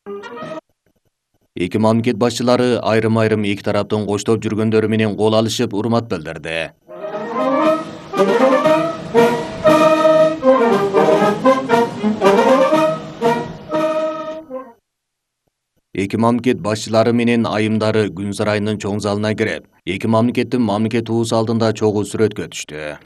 Эки мамлекет башчылары айрым эки тараптын коштоп жүргөндөрү менен кол алышып, урмат билдирди. Эки мамлекет башчылары менен айымдары күн сарайынын чоң залына кирип, эки мамлекеттин мамлекет туусу алдында чогуу сүрөткө түштү.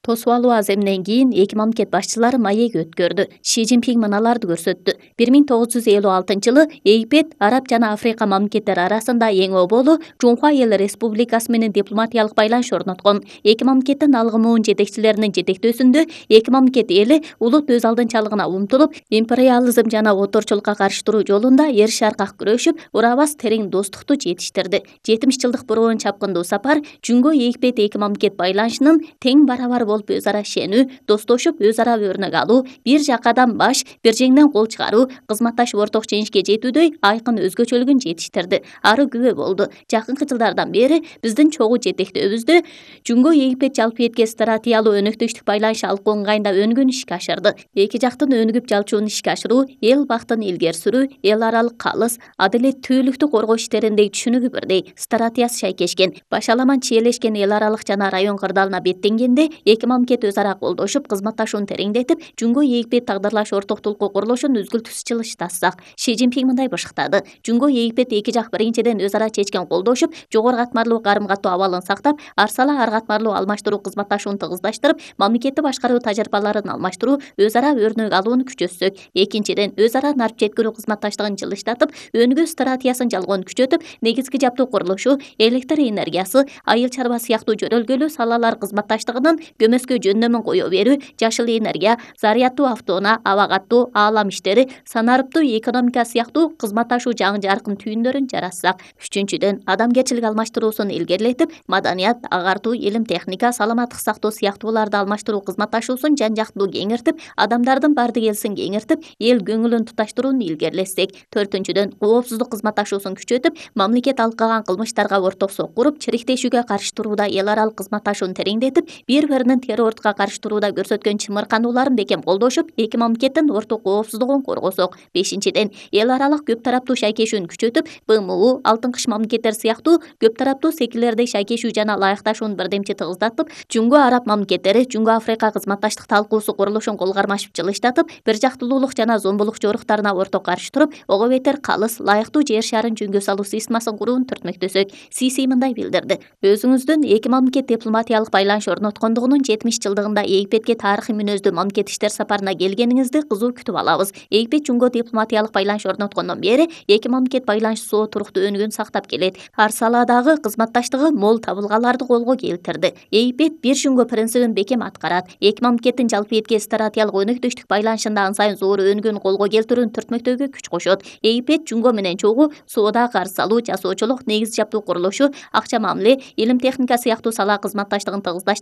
Тосуп алуу аземинен кийин эки мамлекет башчылары маек өткөрдү. Ши Цзиньпин мыналарды көрсөттү. 1956-жылы Египет, Араб жана Африка мамлекеттери арасында эң оболу Жунхва эл республикасы менен дипломатиялык байланыш орноткон. Эки мамлекеттин алгымуун жетекчилеринин жетектөөсүндө эки мамлекет эли улут өз алдынчалыгына умтулуп, империализм жана отурчулукка каршы туруу жолунда эр шаркак күрөшүп, урабас терең достукту жетиштирди. 70 жылдык буруун чапкындуу сапар Жунго Египет эки мамлекет байланышынын тең барабар болуп өз ара ишенүү, достошуп өз ара өрнөк алуу, бир жакадан баш, бир жеңден кол чыгаруу, кызматташып орток жеңишке жетүүдөй айкын өзгөчөлүгүн жетиштирди. Ары күбө болду. Жакынкы жылдардан бери биздин чогуу жетектөөбүздө Жунго Египет жалпы этке стратегиялуу өнөктөштүк байланыш алкуу ыңгайында өнүгүүнү ишке ашырды. Эки жактын өнүгүп жалчуун ишке ашыруу, эл бактын илгери сүрүү, эл аралык калыс, адилеттүүлүктү коргоо иштериндеги түшүнүгү бирдей, стратегиясы шайкешкен, башаламан чиелешкен эл аралык жана район кырдаалына беттенгенде эки мамлекет өз ара колдошуп, кызматташууну тереңдетип, Жунго Египет тагдырлаш ортоктулукку курулушун үзгүлтүсүз жылыштатсак. Ши Цзиньпин мындай бышыктады. Жунго Египет эки жак биринчиден өз ара чечкен колдошуп, жогору катмарлуу карым-катуу абалын сактап, арсала ар катмарлуу алмаштыруу кызматташууну тыгыздаштырып, мамлекетти башкаруу тажрыйбаларын алмаштыруу, өз ара өрнөк алууну күчөтсөк. Экинчиден, өз ара нарп жеткирүү кызматташтыгын жылыштатып, өнүгүү стратегиясын жалгоonu күчөтүп, негизги жаптуу курулушу, электр энергиясы, айыл чарба сыяктуу жөнөлгөлүү салалар кызматташтыгынын көмөскө жөндөмүн кое берүү, жашыл энергия, заряддуу автоунаа, аба каттуу, аалам иштери, санариптуу экономика сыяктуу кызматташуу жаңы жаркын түйүндөрүн жаратсак. Үчүнчүдөн, адамгерчилик алмаштыруусун илгерилетип, маданият, агартуу, илим техника, саламаттык сактоо сыяктууларды алмаштыруу кызматташуусун жан жактуу кеңиртип, адамдардын бардык элсин кеңиртип, эл көңүлүн туташтырууну илгерилетсек. Төртүнчүдөн, коопсуздук кызматташуусун күчөтүп, мамлекет алкаган кылмыштарга орток сок куруп, чириктешүүгө каршы турууда эл аралык кызматташууну тереңдетип, бири-биринин террордукка каршы турууда көрсөткөн чымырканууларын бекем колдошуп, эки мамлекеттин орток коопсуздугун коргосок. Бешинчиден, эл аралык көп тараптуу шайкешүүнү күчөтүп, БМУ, Алтын кыш мамлекеттер сыяктуу көп тараптуу секирлердей шайкешүү жана ылайыкташууну бирдемчи тыгыздатып, Жунго Араб мамлекеттери, Жунго Африка кызматташтык талкуусу курулушун кол кармашып жылыштатып, бир жактуулуулук жана зомбулук жоруктарына орток каршы туруп, ого бетер калыс, лайыктуу жер шарын жөнгө салуу системасын курууну түртмөктөсөк. Сиси мындай билдирди. Өзүңүздүн эки мамлекет дипломатиялык байланыш орноткондугунун 70 жылдыгында Египетке тарыхый мүнөздүү мамлекет иштер сапарына келгениңизди кызуу күтүп алабыз. Египет Жунго дипломатиялык байланыш орноткондон бери эки мамлекет байланышы соо туруктуу өнүгүүнү сактап келет. Ар саладагы кызматташтыгы мол табылгаларды колго келтирди. Египет бир Жунго принцибин бекем аткарат. Эки мамлекеттин жалпы этке стратегиялык өнөктөштүк байланышында ан сайын зор өнүгүүнү колго келтирүүнү түртмөктөөгө күч кошот. Египет Жунго менен чогуу соода, карыз алуу, жасоочулук, негиз жаптуу курулушу, акча мамиле, илим техника сыяктуу сала кызматташтыгын тыгыздаш